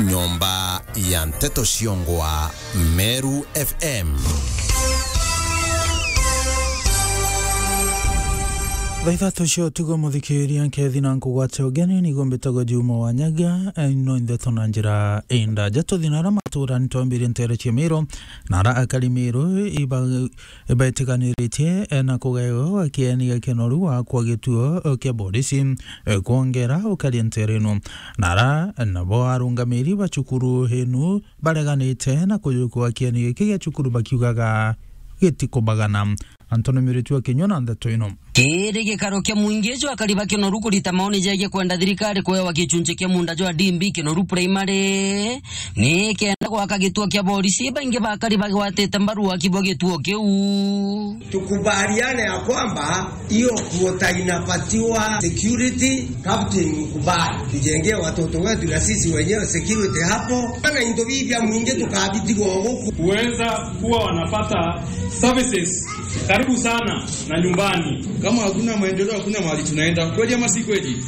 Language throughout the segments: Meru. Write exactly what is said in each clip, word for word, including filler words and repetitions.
Nyomba ya nteto ciongwa Meru F M. Thaa ithatu cia utuku, muthikiria, nkethi na nkugwate ugeni, nigo mbitagwa Juma wa Nyaga, eh, no ndeto na njira indaja. Tuthi na ara matura, nitwambirie ntere cia Miru, na ara akari Miru iba-, ibetiganiritie, eh, na kugaewa kieni gia kinoru wa kwa gituo, eh, kia borisi, eh, kwongera ukari ntere ino. Na ara nabo arungamiri ba cukuru inu bareganite na kujukua kieni giki gia cukuru bakiugaga gitikubagana. Anthony Miritu akinyua na ndeto ino. Kiri gikaro kia mwingi jwa akari ba kinoru kurita maoni jegie kwenda thirikari kuewa gichunchi kia munda jwa D B kinoru primary, ni kenda gwaka gituo kia borisi, baingi ba akari bagwatite mbaru waki bwa gituo kiu. Tukubaliane ya kwamba hiyo kuota inapatiwa security, captain, mkubali. Tujengee watoto wetu na sisi wenyewe security hapo. Kana into bibi bia mwingi tukabitigwo guku. Kuweza kuwa wanapata services karibu sana na nyumbani. Kama hakuna maendeleo, hakuna mahali tunaenda. Kweli ama si kweli?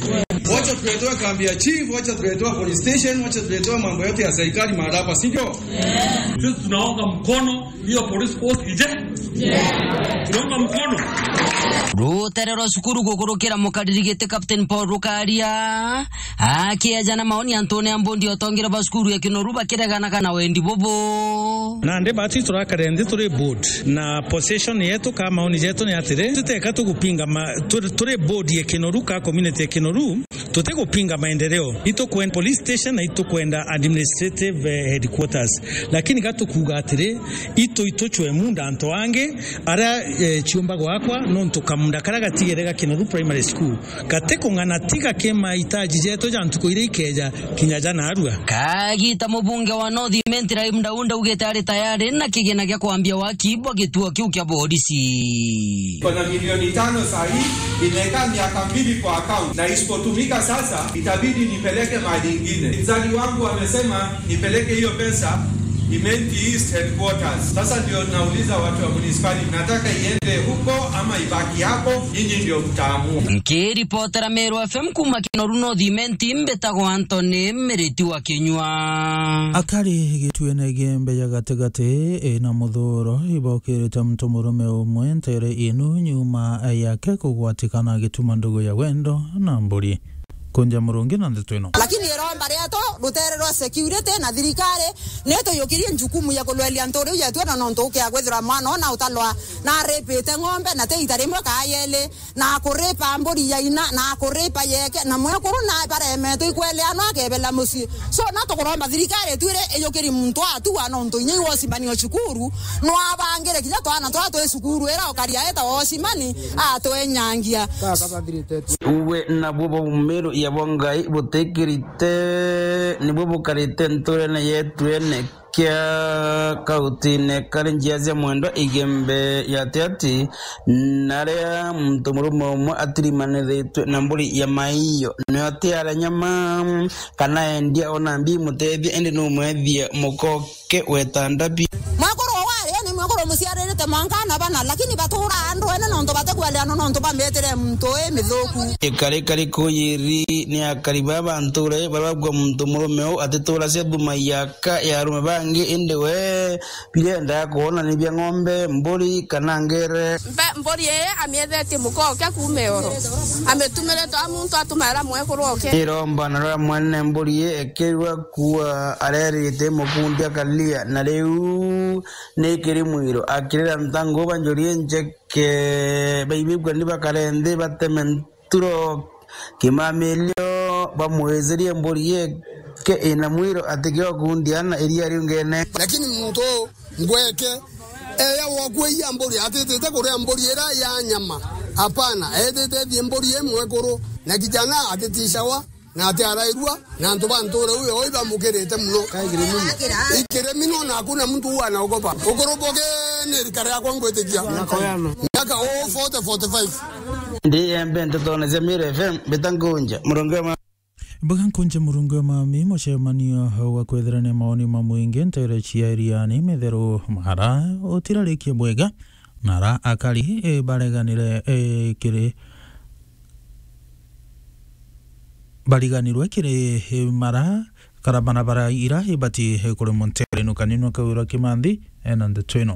Wacha tuletewe kambi ya chief, wacha tuletewe police station, wacha tuletewe mambo yote ya serikali mahali hapa, si ndio? Sisi tunaunga mkono hiyo police post ije. Tunaunga mkono. Rutere rwa cukuru gukurukira mukariri giti Captain Paul Rukaria, akieja na maoni antune a mbundi otongire ba cukuru ya Kinoru bakireganaga na wendi bubu. Nandi bati turakare nthi turi board, na position yetu ka maoni jetu ni atiri, tuteka tugupinga ma-, turi, turi board ya Kinoru ka community ya Kinoru, tutigupinga maendeleo. Itukwenda police station na itukwenda administrative, eh, headquarters. Lakini gatukuga atiri, itu, ituchwe munda antu angi, ara, eh, ciumba gwakwa, nontu kamunda kara gatigere ga Kinoru Primary School. Gati kung'ana tiga ki mahitaji jetu ja ntuku iria ikeja kinya ja narua. Kagita mubunge wa North Imenti Rahim Daud augite ari tayari na kigina gia kwambia waki bwa gituo kiu kia borisi. Iko na milioni tano saa hii, imekaa miaka mbili kwa account, na isipotumika sasa, itabidi nipeleke mahali ingine. Mzali wangu amesema nipeleke hiyo pesa Imenti East Headquarters. Sasa ndio nauliza watu wa municipality, nataka iende huko ama ibaki hapo? Nyinyi ndio mtaamua. Nkiripotera Meru F M kuma Kinoru North Imenti, mbitagwa Anthony Miriti wa Kinyua. Akari gituene gia Mbeya gatigati, ina muthuro, ibokirite muntu murume umwe ntere inu nyuma yake kugwatikana agituma ndugu ya wendo na mburi. Kunja Murungi na ndeto ino. Lakini iromba rietu, rutere rwa security na thirikari, ni tuyukirie njukumu ya kulwelia nthuri yetu, na nontu ukia kwithirwa mwana ona utalwa na aripite ng'ombe, na ti ita rimwe kaa yeli, na akuripa mburi ya ina, na akuripa yeke, na mwekuru na baremetwe ikweleanwa akebela mucii. So, na tukuromba thirikari itwire iyukiri muntu atua, nontu inya iwosimani o cukuru, no abangire kinya twana twa twi cukuru, ira ukaria eta wosimani, atwenyangia. Uwe nabwo bwa umiru ya bwa Ngai butikirite, nibwo bukarite nturene yetu ene kia kautine kari njia cia mwendwa Igembe ya Tiati, na aria muntu murume umwe atirimanithitwe na mburi ya maiyo, nio atiare nyama, kana endia ona mbi imutethie, indi numwethie mukoke weta ndabi. Mwekuru wari ni mwekuru muciaririte mwanka na bana, lakini batura andu ene nontu batekweleana nontu bametire muntu wi mithuku. Ikari kari kuyiri ni akari ba banture baria bagua muntu murume u atitura cia thuma ya ka ya arume bangi, indi we birenda kwona ni bia ng'ombe, mburi kana ngere. Mbe-, mburi ii amiethetie muka oke kuuma ioro, amitumire twa muntu atumaira mwekuru oke. Iromba na rwa mwene mburi ii ekirwa kuua arerite mukundi akalia, na riu ni kiri mwiro akirira ntangu banjurie njeke baibibwa ni bakare nthi bateme nturo kimamilio bamwizirie mburi ii ke ina mwiro atikio kundiana iria riungene. Lakini muntu ngweke eya wokweia mburi, atitite kuria mburi ira ya nyama. Hapana, etite thie mburi imwe kuru, na kijana atitishawa, na atiarairua, na antu ba nture uyo oi bamukirite muno. Ikirimi no, na hakuna mtu huwa anaogopa. Ukuru boge ni rika riakwa ngwitikia. Miaka o forty, forty-five. Ndi embe ntetone cia Miru F M, mbita nkunja, murungi wa ma- Mbuga nkunje murungi wa mami, mucemanio wa kwethirania maoni ma mwingi ntere cia Iriani, Mitheru, Mara, utirarikie bwega, na ara akari, e, bareganire, e, kiri, bariganirwe kiri, e, Mara, kara bana bara ira ibati kuri muntere nukaninu kawira kimanthi ena ndeto ino.